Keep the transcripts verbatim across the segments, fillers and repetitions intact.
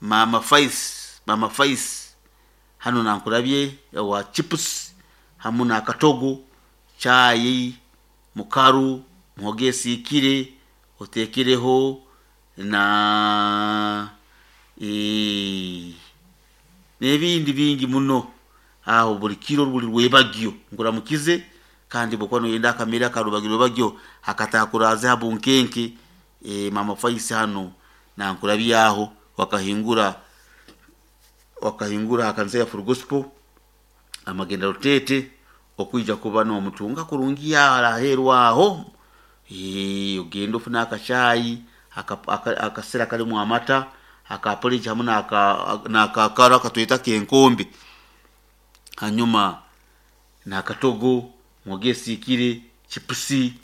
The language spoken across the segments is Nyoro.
Mama Faisi, Mama Faisi hano nankurabye wa chips hamu na katogo, chai, mukaru, muhogo esiikire, oteekereho na eh, n'ebindi bingi muno. Aho buli kiro buli rwebagyo nkuramukize, kandi bwokuba noyenda akamere akarubagyo akatakuraze ha bunkenke. eh, Mama Faisi hano nankurabyaho wakahingura wakahingura ha kanisa ya Full Gospel amagenda rutete okwija kuba nomutunga kurungi aheru aho. Eh, ogende ofune akachai akasera kalimu amata aka porridge hamu n'akakaro akatweta kenkombe, hanyuma n'akatogo, muhogo esiikire, chipusi,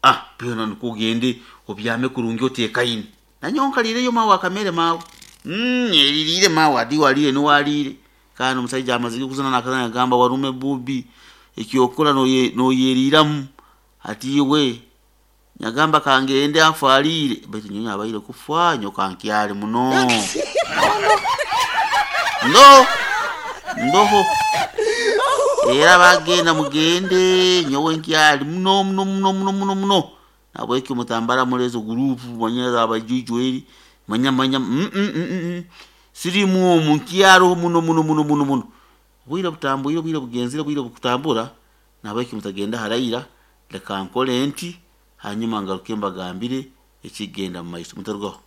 ah byona nikwo ogende obyame kurungi oteekaine. Nanyowe nkaliireyo maawe akamere maawe, mm, nyeririire maawe adi waliire niwe aliire. Kandi omusaija amazire kuzina nakazina nagamba warume bubi ekyokukora noyeriiramu, hati iwe nagamba kangende afe aliire, baitu nyowe abaire kufa nyowe kankyali muno. Ndo ndoho era bagenda mugende nyowe nkyali muno muno muno muno muno muno. Nahabweki mutambara muli ezo gurupu manya abajuju eri manya manya mm, mm, mm, sirimu omu nkyaroho muno muno muno muno muno. Obwire butambwire, obwire bugenzere, obwire bukutambura, nahabweki mutagenda haraira, leka nkole nti hanyuma ngaruke mbagambire ekigenda mumaiso, mutarugaho.